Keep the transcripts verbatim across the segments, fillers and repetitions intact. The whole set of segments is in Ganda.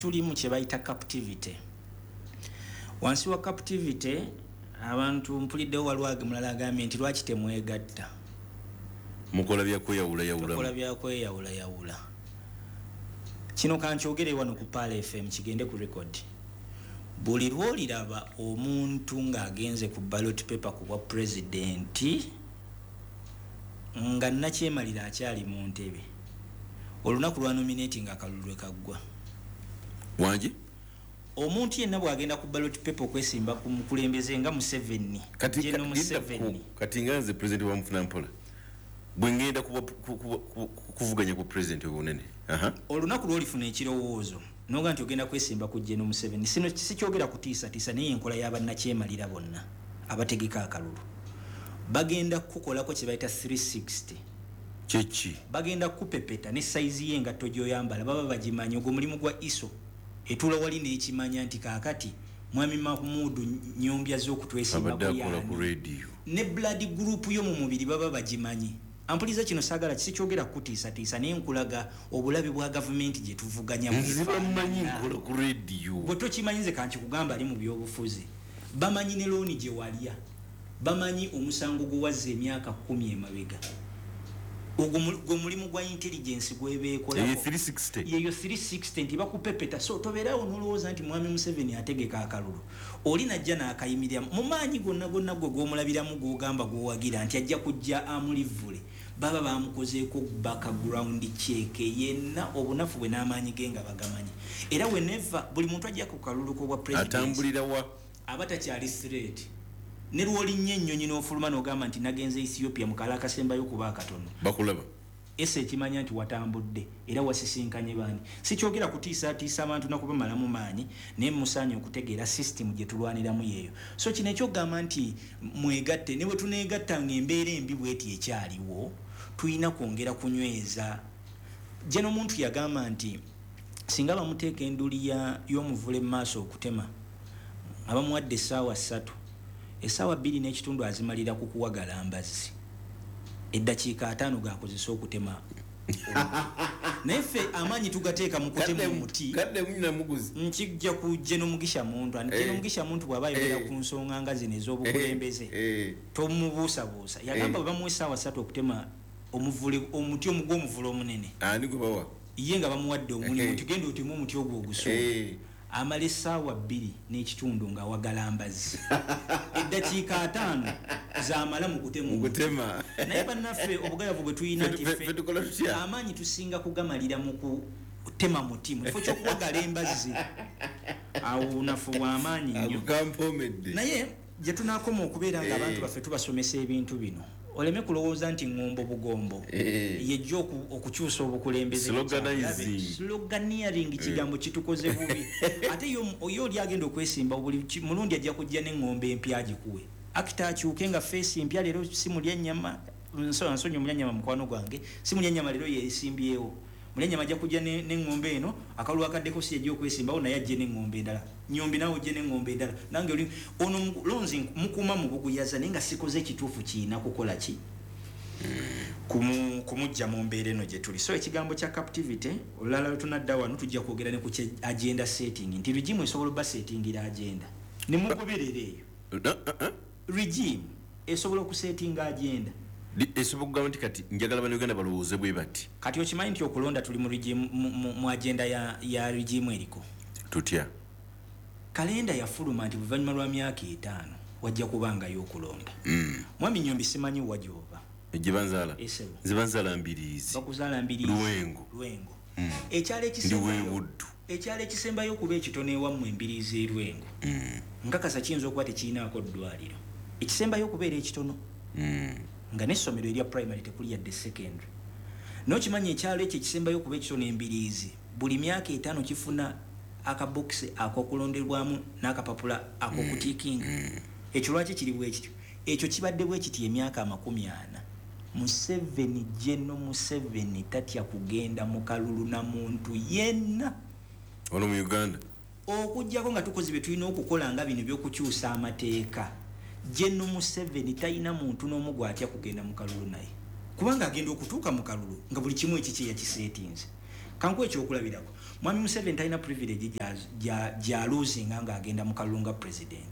Tulimu kye bayita captivity. Wansi wa captivity, abantu mpuliddewo, waliwo mulala agambye nti lwaki temwegatta? Mukola byakweyawulayawula. Tukola byakweyawulayawula. Kino kankyogere wano ku Pearl F M, kigende ku record. Buli lwoliraba omuntu ng'agenze ku ballot paper ku bwa pulezidenti nga nakyemalira akyali mu ntebe, olunaku lwa nominating akalulu lwe kaggwa. Wangi? Omuntu yenna bw'agenda ku ballot paper okwesimba ku mukulembeze nga Museveni, Kati General ka- Museveni. Kati nga nze president wa Mufunampola, bwe ngenda kuba- ku- ku- ku- kuvuganya ku president obunene. Aha. Olunaku lwolifuna ekirowoozo noga nti ogenda kwesimba ku General Museveni, sino sikyogera kutiisatiisa, naye enkola y'abannakyemalira bonna abategeka akalulu bagenda kukukolako kye bayita three sixty. Kyeki? Bagenda kukupepeta ne sayizi y'engatto gy'oyambala baba bagimanyi. Ogwo mulimu gwa I S O etuula wali n'ekimanya nti kaakati Mwami Mahmudu Nyombya z'okutwesimbako Abadde akola ku yaani radio. Ne blood group yo mu mubiri baba bagimanyi. Ampuliza, kino saagala, sikyogera kutiisatiisa, naye nkulaga obulabe bwa gavumenti gye tuvuganya. Nze bamanyi Bwefaanana. nkola ku radio. Bwe tokimanyi, nze kankikugamba, ali mu byobufuzi bamanyi ne looni gye walya, bamanyi omusango gwe wazza emyaka kumi emabega. Ogwo mu- gwe mulimu gwa intelligence Eyo gwebeekolako. three sixty. Yeyo three sixty, nti bakupepeta. So tobeerawo nolowooza nti Mwami Museveni ategeka akalulu, oli najja n'akayimirira mu maanyi gonna gonna gwe gwomulabiramu, gwogamba gwowagira nti ajja kujja amulivule, baba bamukozeeko background check yenna, obunafu bwe n'amaanyi ge nga bagamanyi. Era whenever buli muntu ajja ku kalulu k'obwa president, Atambulira wa? Aba takyali threat. Ne lwolinnya ennyonyi n'ofuluma n'ogamba nti nagenze Ethiopia mu kala akasembayo kuba akatono, Bakulaba. Ese ekimanya nti watambudde era wasisinkanye bandi. Sikyogera kutiisatiisa abantu nakubamalamu maanyi, naye musaanye okutegeera system gye tulwaniramu yeeyo. So kino ekyokugamba nti mwegatte, ne bwe tuneegatta nga embeera embi bweti ekyaliwo, tulina kwongera kunyweza. Jeno omuntu yagamba nti singa bamuteeka enduli y'omuvule mu maaso okutema, nga bamuwadde essaawa ssatu, essaawa bbiri n'ekitundu azimalira ku kuwagala mbazzi, eddakiika ataano gakozesa okutema. Naye ffe amaanyi tugateeka mu kutema omuti. Nkijja ku Jeno Mugisha Muntu. Ani Jeno Mugisha Muntu bw'aba ayogera ku nsonga nga zino ez'obukulembeze, tomubuusabuusa. Yagamba bwe bamuwa essaawa ssatu okutema omuvule, omuti omugw'omuvule omunene, Ani gwe bawa? Ye nga bamuwadde omulimu nti genda oteme omuti ogwo ogusuula, amala essaawa bbiri n'ekitundu nga awagala mbazzi, eddakiika ataano zamala mu kutema. Naye bannaffe obugayavu bwe tulina nti ffe amaanyi tusinga kugamalira mu kutema muti mu kifo ky'okuwagala embazzi, awo bunafu bw'amaanyi nnyo. Naye gye tunaakoma okubeera nga abantu eh. baffe tubasomesa ebintu bino, oleme kulowooza nti ŋŋombo bugombo eh. yejja okukyusa obukulembeze. Sloganeering kigambo kitukoze bubi. Ate yo oli agenda okwesimba buli mulundi ajja kujja n'eŋŋombo empya agikuwe, akita akyuke nga face mpya. Leero si mulya nnyama, nsonyi omulya nnyama mukwano gwange, si mulya nnyama leero yesimbyewo. Mulya nnyama ajja kujja n'eŋŋombo eno, akalulu akaddeko si yajja okwesimbawo, naye ajje n'eŋŋombo endala. Nyombi nawe ojje n'eŋŋombo endala, nange oli ono lonzi mukuuma mu buguyaza, naye nga sikoze ekituufu kiina kukola ki kumujja mu mbeera eno gye tuli. So ekigambo kya captivity, olulala lwe tunadda wano tujja kwogera ne ku kye agenda setting, nti regime esobola obba settingira agenda ne mugoberera eyo. Regime esobola okusettinga agenda. Esobola okugamba nti kati njagala Bannayuganda balowooze bwe bati. Kati okimanyi nti okulonda tuli mu regime, mu, mu, mu agenda ya, ya regime eriko? Tutya? Kalenda yafuluma nti buvanyuma lwa myaka etaano wajja kubangayo okulonda. mm. Mwami Nyombi, simanyi wa gyova. Gyebanzaala? Esebo. Nze banzaala Mbiriizi. Bakuzaala Mbiriizi? Lwengo. Lwengo. Mm. Ekyalo Ndi ekisembayo w'Ebuddu. Ekyalo ekisembayo okuba ekitono ewammwe, Embiriizi erwengo, Mm. nkakasa kiyinza okuba tekirinaako ddwaliro. Ekisembayo okubeera ekitono, Mm. nga n'essomero erya primary tekuli yadde secondary. Nokimanyi ekyalo ekyo ekisembayo okuba ekitono, Embiriizi, buli myaka etaano kifuna akabokisi akokulonderwamu n'akapapula ak'okutickinga? Ekyo lwaki kiri bwe kityo? Ekyo kibadde bwe kiti emyaka amakumi ana. Museveni, Jeno Museveni tatya kugenda mu kalulu na muntu yenna Wano mu Uganda. Okugjako nga tukoze bye tulina okukola nga bino ebyokukyusa amateeka. Jeno Museveni talina muntu n'omu gwatya kugenda mu kalulu naye, kubanga agenda okutuuka mu kalulu nga buli kimu ekikye yakiseetinze. Kankuwa ekyokulabirako. Mwami Museveni talina privilege gy'aluzinga ng'agenda mu kalulu nga president.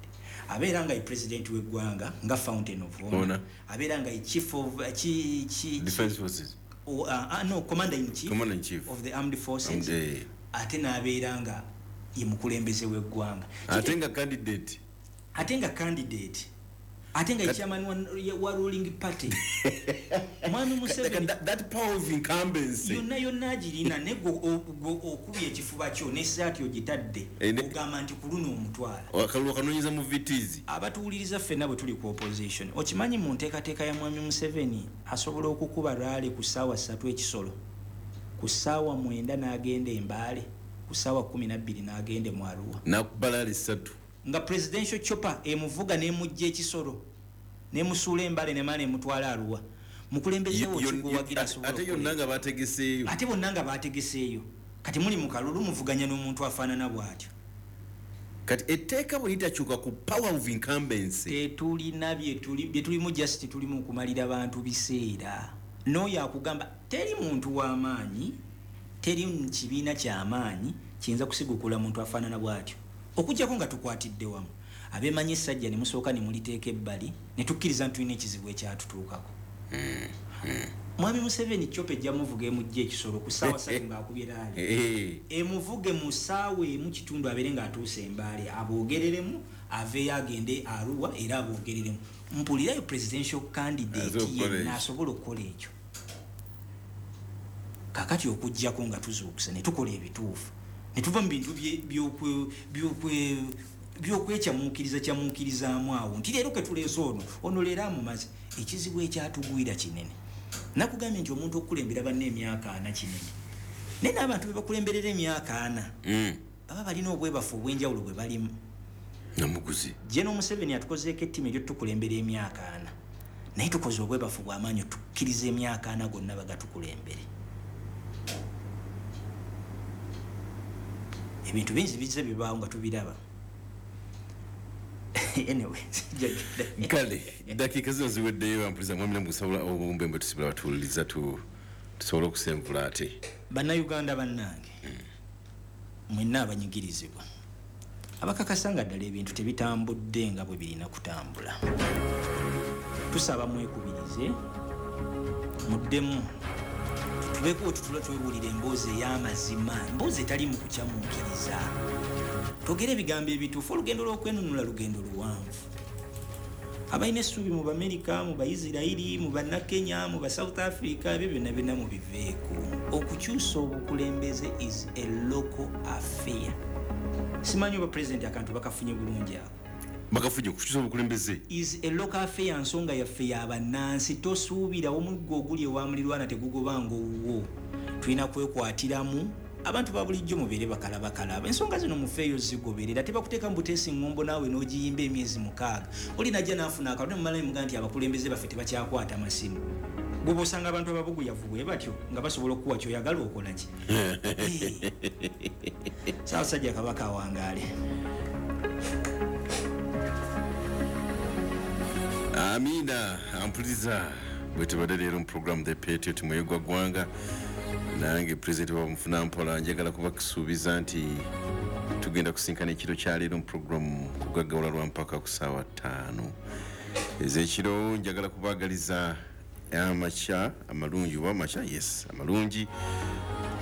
Abeera nga ye president w'eggwanga nga fountain of honor, abeera nga ye chief of chi, chi, defense forces, oh, uh, uh, no, commander in chief, commander in chief of the armed forces, ate n'abeera nga ye mukulembeze w'eggwanga, ate nga candidate, ate nga candidate, ate nga chairman wa, wa ruling party. Mwami Museveni that, that power of incumbency yonna yonna agirina, ne okubye ekifuba kyo n'essaati ogitadde ogamba nti ku luno omutwala akalulu kanoonyeza mu V Ts. Abatuwuliriza ffenna bwe tuli ku opposition, okimanyi mu nteekateeka ya Mwami Museveni asobola okukuba rally ku ssaawa ssatu ekisolo, ku ssaawa mwenda n'agenda e Mbale, ku ssaawa kkumi na bbiri n'agenda mu Arua, n'akuba rally ssatu nga presidential chopper emuvuga n'emujja ekisolo n'emusuula Embale nemala emutwala Arua. Mukulembeze wo kiguwagira asobola, ate yonna nga bategeseeyo, ate bonna nga bategeseeyo. Kati muli mu kalulu muvuganya n'omuntu afaanana bw'atyo. Kati etteeka bwe litakyuka ku power of incumbency, tetulina bye tulimu, just tulimu kumalira bantu biseera. N'oyo akugamba teri muntu w'amaanyi, teri kibiina ky'amaanyi kiyinza kusigukula muntu afaanana bw'atyo, okuggyako nga tukwatidde wamu. Abeemanyi essajja ne musooka ne muliteeka ebbali ne tukkiriza nti tulina ekizibu ekyatutuukako. Mwami Museveni chopper ejja muvuga emujja ekisolo ku ssaawa ssatu ng'akubye rally, emuvuge mu ssaawa emu kitundu abeere ng'atuuse Embaale, aboogereremu, aveeyo agende Arua era aboogereremu. Mpulirayo presidential candidate yenna asobola okukola ekyo. Kaakati okuggyako nga tuzuukuse ne tukola ebituufu, ne tuva mu bintu by'okwekyamuukiriza kyamuukirizaamu awo nti leero ke tuleese ono, ono leero amumaze. Ekizibu ekyatugwira kinene. Nakugambye nti omuntu okukulembera banne emyaka ana kinene, naye n'abantu be bakulemberera emyaka ana baba balina obwebafu obw'enjawulo bwe balimu. Namuguzi General Museveni atukozeeko ettima ery'otukulembera emyaka ana, naye tukoze obwebafu bw'amaanyi tukkiriza emyaka ana gonna bagatukulembere. Ebintu bingi bizze bibaawo nga tubiraba. Anyway, kale dakiika zino ziweddeyo. Ampuliza mwami Namuguzi, obumbe bwe tusibula batuwuliriza tusobole okusenvula ate. Bannayuganda bannange, mwenna abanyigirizibwa, abakakasa nga ddala ebintu tebitambudde nga bwe birina kutambula, tusaba mwekubirize, muddemu tubeeko tutula twebuulira emboozi ey'amazima, emboozi etali mu kukyamuukiriza, twogere ebigambo ebituufu. Olugendo lw'okwenunula lugendo luwanvu. Abalina essuubi mu Bamerika, mu Baisirairi, mu Bannakenya, mu Basouth Africa, ebyo byonna byonna mubiveeko. Okukyusa obukulembeze is a local affair. Simanyi oba president akantu bakafunye bulungi ako. Bakafunye okukyusa obukulembeze is a local affair, nsonga yaffe y'abannansi. Tosuubira omuggo oguli ewa mulirwana tegugobanga owuwo. Tulina kwekwatiramu. Abantu ba bulijjo mubeere bakalabakalaba. Ensonga zino mufeeyo zigoberera, tebakuteeka mu buteesi ngombo naawe n'ogiyimba emyezi mukaaga. Oli najja n'afuna akalulu ne mumala ne mugamba nti abakulembeze baffe tebakyakwata masimu. Bw'oba osanga abantu ababuguyavu bwe batyo nga basobola okukuwa ky'oyagala okola ki? Ssaabasajja Kabaka awangaale. Amina. Ampuliza bwe tubadde leero mu program The Patriot Muyigwa Ggwanga, nange president wa Mufuna Mpola njagala kubakusuubiza nti tugenda kusinkana ekiro kya leero mu program Kugaggawala lwa mpaka ku ssaawa ttaano ez'ekiro. Njagala kubaagaliza amakya amalungi, oba amakya, yes, amalungi.